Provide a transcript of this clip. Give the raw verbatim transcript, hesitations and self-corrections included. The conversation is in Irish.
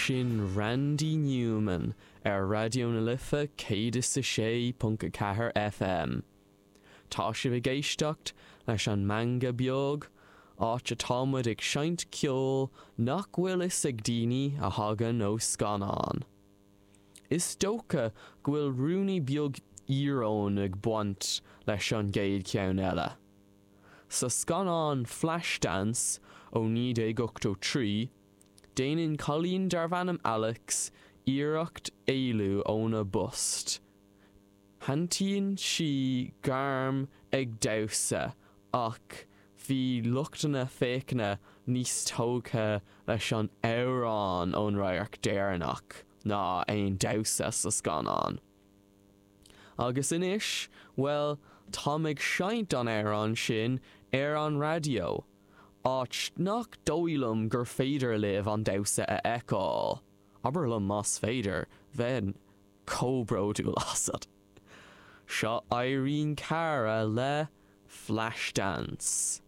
Sin Randy Newman ar Raidió na Life céad is a sé ponc a ceathair FM. Tá sibh ag éisteacht leis an Meangadh Beag, áit atá muid ag seinnt ceoil nach bhfuil fhios ag daoine a thagann ó scannán. Is dócha go bhfuil ruainní beag íoróin ag baint leis an gcéad cheann eile. Sa scannán Flashdance ó naoi déag ochtó trí, déanann cailín darbh ainm Alex iarracht éalú óna post. Shantaíonn sí gairm ag damhsa ach bhí lucht na féachana níos tógtha leis an amhrán ón radharc deireanach ná aon damhsa sa scannán. Agus anois, bhuel, táim ag seinnt an amhrán sin ar an raidió, áit nach dóigh liom gur féidir libh an damhsa a fheiceáil. Abair liom más féidir, bheinn chomh bródúil asat. Seo Irene Cara le Flashdance.